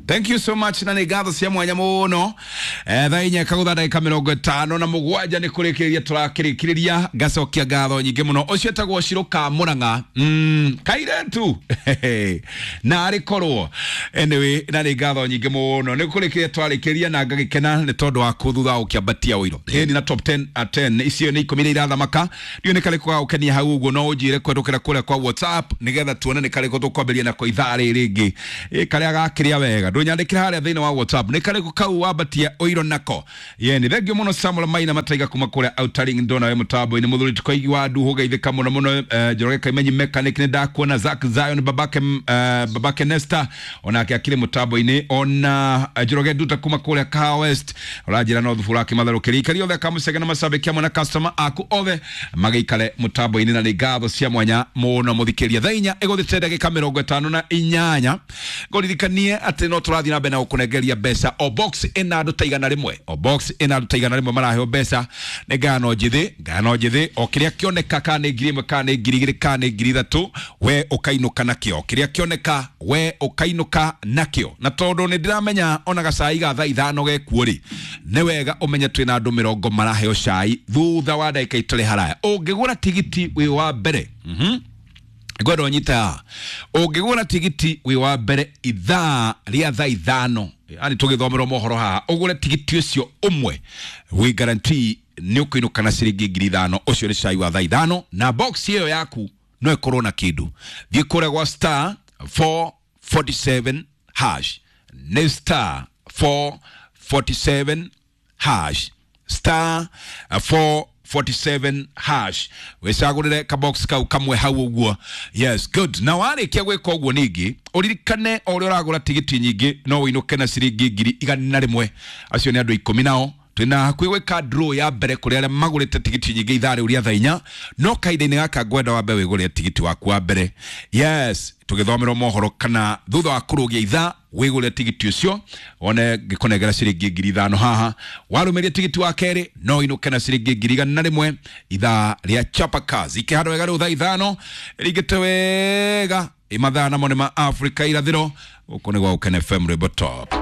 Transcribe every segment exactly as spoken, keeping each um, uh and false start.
Thank you so much na nĩ ngatho cia mwanya mũno. Eh, thaa inya kagũtha ndagĩka mĩrongo ĩtano na mũgwanja nĩ kũrĩkĩrĩria tũrakĩrĩkĩrĩria. Ngacokia ngatho nyingĩ mũno. Ũcio etagwo Shirũka Mũrang'a, mm, kairetu na arĩ korwo. Anyway, na nĩ ngatho nyingĩ mũno nĩ kũrĩkĩrĩria twarĩkĩria na ngagĩkena nĩ tondũ waku thutha wa gũkĩambatia ũiro. Ĩni na top ten at ten icio nĩ ikũmi iria irathamaka. Ndiũĩ nĩ karĩkũ gagũkenia hau ũguo, no ũnjĩre kũhetũkĩra kũrĩa kwa WhatsApp nĩgetha tuone nĩ karĩkũ tũkwambĩrĩria nako ithaa rĩrĩ rĩngĩ. Ĩ karĩa gakĩrĩa wega ndũnyandĩkĩra harĩa thĩinĩ wa WhatsApp nĩ karĩkũ kau wambatia ũiro nako. Ye nĩ thengio mũno Samuel Maina Mataiga kuma kũrĩa Outaring, ndona we mũtambo-inĩ. Mũthuri Tũkoigi wa Nduhu geithĩka mũno mũno. eh, Njoroge Kaimenyi mechanic nĩ ndakuona. Zack Zion babake, eh, babake Nesta onake akĩrĩ mũtambo-inĩ. Ona eh, Njoroge Nduta kuma kũrĩa Kahawa West ũranjĩra no thubura akĩmatherũkĩria ikari othe akamũcege na macambĩki amwe na customer aku othe magĩikare mũtambo-inĩ, na nĩ ngatho cia mwanya mũno mũthikĩria. Thaa inya ĩgũthĩte ndagĩka mĩrongo ĩtano na inyanya. Ngũririkanie atĩ no tũrathiĩ na mbere na gũkũnengeria mbeca. O box ĩna andũ ta igana rĩmwe, o box ĩna andũ ta igana rĩmwe maraheo mbeca. Nĩ ngano njĩthĩ, ngano njĩthĩ, o kĩrĩa kĩoneka, kana nĩ ngiri ĩmwe, kana nĩ ngiri igĩrĩ, kana nĩ ngiri ithatũ, we ũkainũka nakĩo. Kĩrĩa kĩoneka we ũkainũka nakĩo. Na tondũ nĩ ndĩramenya ona gacai ga thaa ithano gekuo rĩ, nĩ wega ũmenye twĩna andũ mĩrongo maraheo cai thutha wa ndagĩka itarĩ haraya. Ũngĩgũra tigiti wĩ wa mbere, mhm ngwenda ũnyite haha, ũngĩgũra tigiti wĩ wa mbere ithaa rĩa thaa ithano, yani tũgĩthomerwo mohoro haha, ũgũre tigiti ũcio ũmwe, wĩ guarantee nĩ ũkũinũka na ciringi ngiri ithano. Ũcio nĩ cai wa thaa ithano, na box ĩyo yaku no ĩkorwo na kĩndũ. Thiĩ kũrĩa gwa star four forty seven hash, nĩ star four forty seven hash, star four forty seven hash, wĩcagũrĩre kabox kau kamwe hau ũguo. Yes, good. Na warĩkia gwĩka ũguo, ningĩ ũririkane o ũrĩa ũragũra tigiti nyingĩ no ũinũke na ciringi ngiri igana rĩmwe. Acio nĩ andũ ikũmi nao twĩna hakuhĩ gwĩka draw ya mbere kũrĩ arĩa magũrĩte tigiti nyingĩ ithaa rĩu rĩa thaa inya. No kahinda-inĩ gaka ngwenda wambe wĩgũrĩre tigiti waku wa mbere, yes, tũgĩthomerwo mohoro kana thutha wa kũrũgia ithaa, wĩgũrĩre tigiti ũcio wone ngĩkũnengera ciringi ngiri ithano haha. Warũmĩria tigiti wa kerĩ no inũke na ciringi ngiri igana rĩmwe. Ithaa rĩa chapakazi ikĩhandwo wega rĩu thaa ithano ĩringĩte wega ĩ mathaa namo nĩ ma Afrika irathĩro. Gũkũ nĩ gwa Gũkena F M, rwĩmbo top.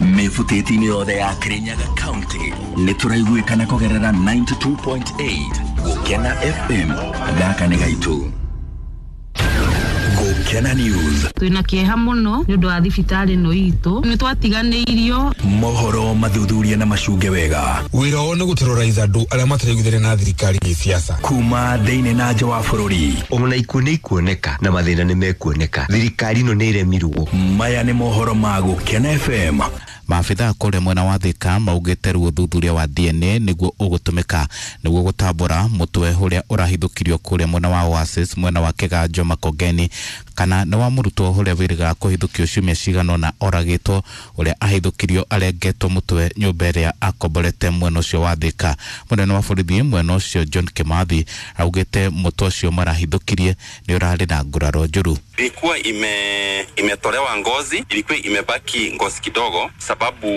Mĩbutĩti-inĩ yothe ya Kirinyaga County nĩ tũraiguĩkana kũgerera ninety two point eight Gũkena F M. Gaka nĩ gaitũ. Gũkena News. Twĩna kĩeha mũno nĩ ũndũ wa thibitarĩ ĩno itũ, nĩ twatiganĩirio. Mohoro mathuthuria na macunge wega. Wĩra wao nĩ gũterrorize andũ arĩa mataraiguithania na thirikari gĩsiasa. Kuma thĩinĩ na nja wa bũrũri. Ona ikuũ nĩ ikuoneka na mathĩna nĩ mekuoneka. Thirikari ĩno nĩ ĩremirwo. Maya nĩ mohoro ma Gũkena F M. Maabithaa kũrĩa mwena wa Thika maugĩte rĩu ũthuthuria wa D N A nĩguo ũgũtũmĩka nĩguo gũtambũra mũtwe ũrĩa ũrahithũkirio kũrĩa mwena wa Oasis mwena wa Kĩganjo Makongeni, kana nĩ wa mũrutwo ũrĩa wĩrĩgaga kũhithũkio ciumia cigana ũna oragĩtwo, ũrĩa ahithũkirio arengetwo mũtwe nyũmba ĩrĩa akomborete mwena ũcio wa Thika. Mũnene wa borithi mwena ũcio John Kimathi augĩte mũtwe ũcio marahithũkirie nĩ ũrarĩ na nguraro njũru. Ilikuwa ime, imetolewa ngozi, ilikuwa imebaki ngozi kidogo sababu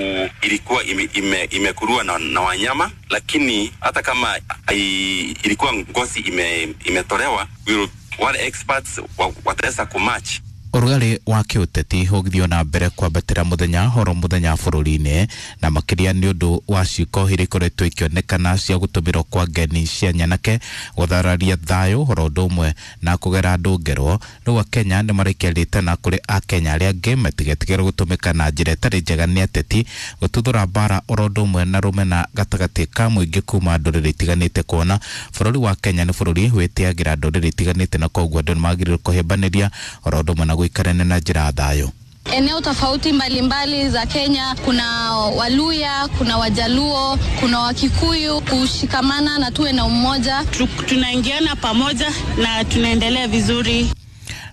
ilikuwa ime, ime, imekuliwa na, na wanyama, lakini hata kama i, ilikuwa ngozi ime, imetolewa, we wale experts wa, wataweza kumatch. Ũrugarĩ wa kĩũteti ũgĩthiĩ na mbere kwambatĩra mũthenya horo mũthenya bũrũri-inĩ, na makĩria nĩ ũndũ wa ciĩko iria ikoretwo ikĩonekana cia gũtũmĩrwo kwa ngeni cia nyanake gũthararia thayũ horo ũndũ ũmwe na kũgera andũ ngero. Rĩu Akenya nĩ maraikia rĩtana kũrĩ Akenya arĩa angĩ matigetigĩre gũtũmĩka na njĩra ĩtarĩ njega nĩ ateti gũtuthũra mbara oro ũndũ ũmwe na rũmena gatagatĩ ka mũingĩ kuma ndũrĩrĩ itiganĩte, kuona bũrũri wa Kenya nĩ bũrũri wĩtĩagĩra ndũrĩrĩ itiganĩte na koguo andũ nĩ magĩrĩirwo kũhĩmbanĩria oro ũndũ ũmwe na gũikarania na njĩra ya thayũ. Eneo tofauti mbalimbali za Kenya, kuna Waluya, kuna Wajaluo, kuna Wakikuyu, kushikamana na tuwe na umoja. Tu-, tunaingiana pamoja na tunaendelea vizuri.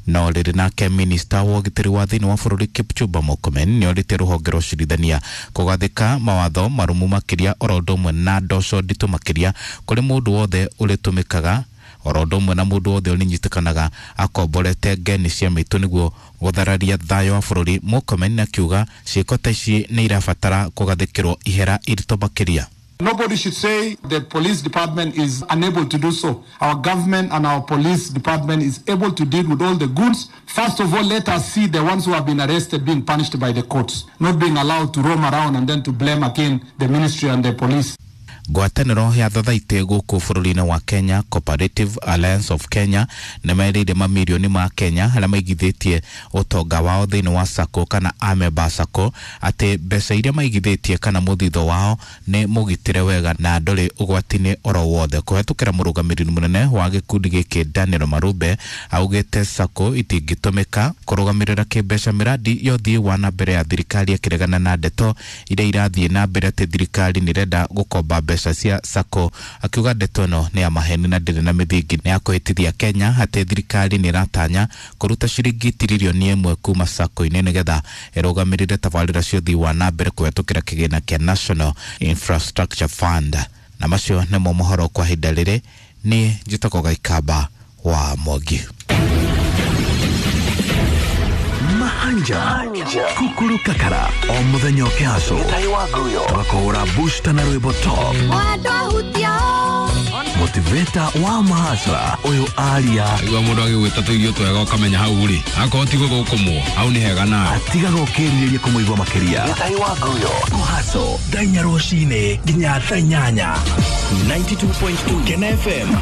No rĩrĩ nake minista wa ũgitĩri wa thĩinĩ wa bũrũri Kipchumba Murkomen nĩorĩtie rũhonge rwa ũcirithania kũgathĩka mawatho marũmu makĩria oro ũndũ ũmwe na ndoco nditũ makĩria kũrĩ mũndũ wothe ũrĩtũmĩkaga oro ũndũ ũmwe na mũndũ wothe ũrĩnyitĩkanaga akomborete ngeni cia mĩtũ nĩguo gũthararia thayũ wa bũrũri. Murkomen akiuga ciĩko ta ici nĩ irabatara kũgathĩkĩrwo ihera iritũ makĩria. Nobody should say the police department is unable to do so. Our government and our police department is able to deal with all the goods. First of all, let us see the ones who have been arrested being punished by the courts, not being allowed to roam around and then to blame again the ministry and the police. Ngwatanĩro ya thothaitĩ gũkũ bũrũri-inĩ wa Kenya, Cooperative Alliance of Kenya, nĩ merĩire mamirioni ma Kenya arĩa maigithĩtie ũtonga wao thĩinĩ wa SACCO kana amemba SACCO atĩ mbeca iria maigithĩtie kana mũthithũ wao nĩ mũgitĩre wega na ndũrĩ ũgwati-inĩ oro wothe. Kũhetũkĩra mũrũgamĩrĩri mũnene wa gĩkundi gĩkĩ Daniel Marube augĩte SACCO itingĩtũmĩka kũrũgamĩrĩra kĩmbeca mĩradi ya ũthii wa na mbere ya thirikari, akĩregana na ndeto iria irathiĩ na mbere atĩ thirikari nĩ ĩrenda gũkomba mbeca cia SACCO, akiuga ndeto ĩno nĩ ya maheni na ndĩrĩ na mĩthingi. Nĩ akũhĩtithia Kenya atĩ thirikari nĩ ĩratanya kũruta ciringi tiririoni ĩmwe kuma SACCO-inĩ nĩgetha ĩrũgamĩrĩre tabarĩra cia ũthii wa na mbere kũhetũkĩra kĩgĩna kĩa National Infrastructure Fund. Na macio nĩmo mohoro kwa ihinda rĩrĩ. Niĩ njĩtagwo Gaikamba wa Mwangi. Mahanja kukuru kakara o muthenya ũkĩhacwo tũgakũhũra booster na rwĩmbo top motivator wa mahasra ũyũ aria igua mũndũ agĩgwĩta tũirio twega ũkamenya hau rĩ akorwo ti gũthũkũmwo hau nĩ hega nawe atigaga ũkĩrirĩria kũmũigua makĩria. Kũhaco thaa inya rũcinĩ nginya thaa inyanya ninety-two point two Kena F M.